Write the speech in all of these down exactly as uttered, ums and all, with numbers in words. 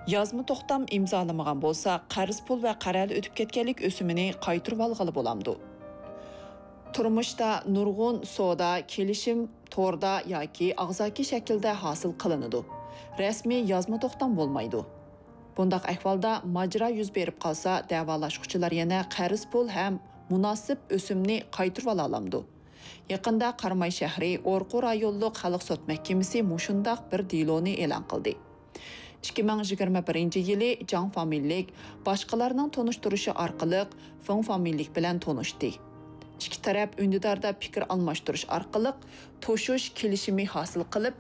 يازما توختام ئىمزالىمىغان بولسا، قەرز پۇل ۋە قەرەلى ئۆتۈپ كەتكەنلىك ئۆسۈمىنى قايتۇرۇۋالغىلى بولامدۇ؟ تۇرمۇشتا نۇرغۇن سودا، كېلىشىم توردا ياكى ئاغزاكى شەكىلدە ھاسىل قىلىنىدۇ. رەسمىي يازما توختام بولمايدۇ. بۇنداق ئەھۋالدا ماجىرا يۈز بېرىپ قالسا، دەۋالاشقۇچىلار يەنە قەرز پۇل ھەم مۇناسىپ ئۆسۈمنى قايتۇرۇۋالالامدۇ؟ يېقىندا قاراماي شەھىرى ئورقۇ رايونلۇق خەلق سوت مەھكىمىسى مۇشۇنداق بىر دېلونى ئېلان قىلدى. ئىككى مىڭ يىگىرمە بىرىنچى يىلى جاڭ فامىلىلىك باشقىلارنىڭ تونۇشتۇرۇشى ئارقىلىق فېڭ فامىلىلىك بىلەن تونۇشتى. ئىككى تەرەپ ئۈندىداردا پىكىر ئالماشتۇرۇش ئارقىلىق توشۇش كېلىشىمى ھاسىل قىلىپ،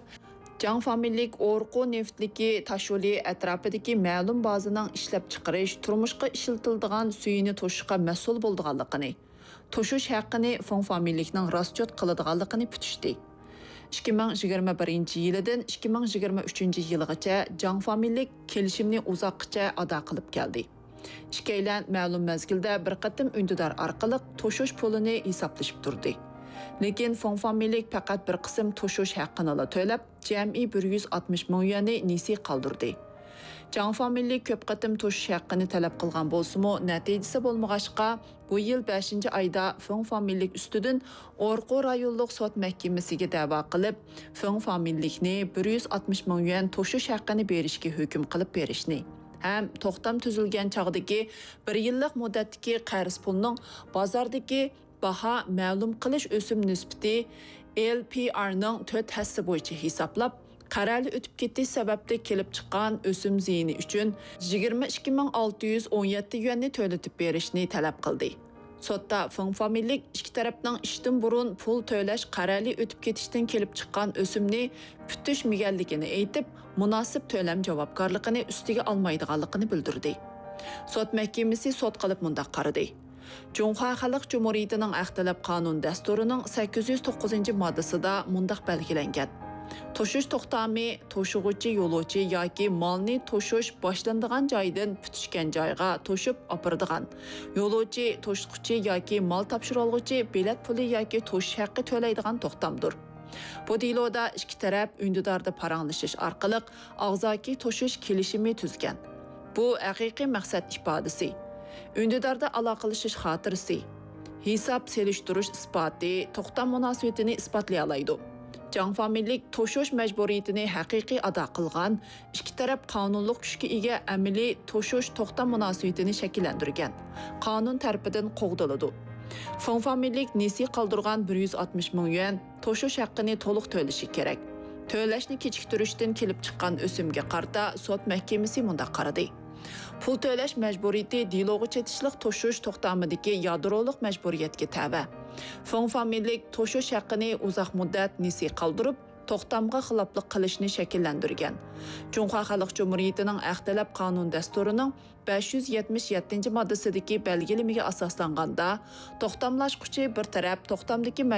جاڭ فامىلىلىك ئورقۇ نېفىتلىكى تاشيولى ئەتراپىدىكى مەلۇم بازىنىڭ ئىشلەپچىقىرىش، تۇرمۇشقا ئىشلىتىلىدىغان سۈيىنى توشۇشقا مەسئۇل بولىدىغانلىقىنى، توشۇش ھەققىنى فېڭ فامىلىلىكنىڭ راسچوت قىلىدىغانلىقىنى پۈتۈشتى. ئىككى مىڭ يىگىرمە بىرىنچى يىلىدىن ئىككى مىڭ يىگىرمە ئۈچىنچى يىلغىچە جاڭ فامىلىلىك كېلىشىمنى ئۇزاققىچە ئادا قىلىپ كەلدى. ئىككىيلەن مەلۇم مەزگىلدە بىر قېتىم ئۈندىدار ئارقىلىق توشۇش پۇلىنى ھېسابلىشىپ تۇردى. لېكىن فېڭ فامىلىلىك پەقەت بىر قىسىم توشۇش ھەققىنىلا تۆلەپ، جەمئىي بىر يۈز ئاتمىش مىڭ يۈەننى نېسى قالدۇردى. جاڭ فامىلىلىك كۆپ قېتىم توشۇش ھەققىنى تەلەپ قىلغان بولسىمۇ، نەتىجىسى بولمىغاچقا، بۇ يىل بەشىنچى ئايدا فېڭ فامىلىلىك ئۈستىدىن ئورقۇ رايونلۇق سوت مەھكىمىسىگە دەۋا قىلىپ، فېڭ فامىلىلىكنى بىر يۈز ئاتمىش مىڭ يۈەن توشۇش ھەققىنى بېرىشكە ھۆكۈم قىلىپ بېرىشنى ھەم توختام تۈزۈلگەن چاغدىكى بىر يىللىق مۇددەتتىكى قەرز پۇلنىڭ بازاردىكى باھا مەلۇم قىلىش ئۆسۈم نىسبىتى، ئېل پى ئارنىڭ تۆت ھەسسە بويىچە ھېسابلاپ، قەرەلى ئۆتۈپ كېتىش سەۋەبلىك كېلىپ چىققان ئۆسۈم زىيىنى ئۈچۈن يىگىرمە ئىككى مىڭ ئالتە يۈز ئون يەتتە يۈەننى تۆلىتىپ بېرىشنى تەلەپ قىلدى. سوتتا فېڭ فامىلىلىك ئىككى تەرەپنىڭ ئىشتىن بۇرۇن پۇل تۆلەش قەرەلى ئۆتۈپ كېتىشتىن كېلىپ چىققان ئۆسۈمنى پۈتۈشمىگەنلىكىنى ئېيتىپ، مۇناسىپ تۆلەم جاۋابكارلىقىنى ئۈستىگە ئالمايدىغانلىقىنى بىلدۈردى. سوت مەھكىمىسى سوت قىلىپ مۇنداق قارىدى. جۇڭخۇا خەلق جۇمھۇرىيىتىنىڭ ھەق تەلەپ قانۇن دەستۇرىنىڭ سەككىز يۈز توققۇزىنچى ماددىسىدا مۇنداق بەلگىلەنگەن: توشۇش توختامى توشۇغۇچى يولۇچى ياكى مالنى توشۇش باشلىنىدىغان جايدىن پۈتۈشكەن جايغا توشۇپ ئاپىرىدىغان، يولۇچى، توشۇتقۇچى ياكى مال تاپشۇرالغۇچى بېلەت پۇلى ياكى توشۇش ھەققى تۆلەيدىغان توختامدۇر. بۇ دېلودا ئىككى تەرەپ ئۈندىداردا پاراڭلىشىش ئارقىلىق ئاغزاكى توشۇش كېلىشىمى تۈزگەن. بۇ ھەقىقىي مەقسەت ئىپادىسى، ئۈندىداردا ئالاقىلىشىش خاتىرىسى، ھېساب سېلىشتۇرۇش ئىسپاتى توختام مۇناسىۋىتىنى ئىسپاتلىيالايدۇ. جاڭ فامىلىلىك توشۇش مەجبۇرىيىتىنى ھەقىقىي ئادا قىلغان، ئىككى تەرەپ قانۇنلۇق كۈچكە ئىگە ئەمەلىي توشۇش توختام مۇناسىۋىتىنى شەكىللەندۈرگەن، قانۇن تەرىپىدىن قوغدىلىدۇ. فېڭ فامىلىلىك نېسى قالدۇرغان بىر يۈز ئاتمىش مىڭ يۈەن توشۇش ھەققىنى تولۇق تۆلىشى كېرەك. تۆلەشنى كېچىكتۈرۈشتىن كېلىپ چىققان ئۆسۈمگە قارىتا سوت مەھكىمىسى مۇنداق قارىدى: پۇل تۆلەش مەجبۇرىيىتى دېلوغا چېتىشلىق توشۇش توختامىدىكى يادرولۇق مەجبۇرىيەتكە تەۋە. فېڭ فامىلىلىك توشۇش ھەققىنى ئۇزاق مۇددەت نېسى قالدۇرۇپ، توختامغا خىلاپلىق قىلىشنى شەكىللەندۈرگەن. جۇڭخۇا خەلق جۇمھۇرىيىتىنىڭ ھەق تەلەپ قانۇن دەستۇرىنىڭ بەش يۈز يەتمىش يەتتىنچى ماددىسىدىكى بەلگىلىمىگە ئاساسلانغاندا، توختاملاشقۇچى بىر تەرەپ توختامدىكى مەجبۇرىيەتكە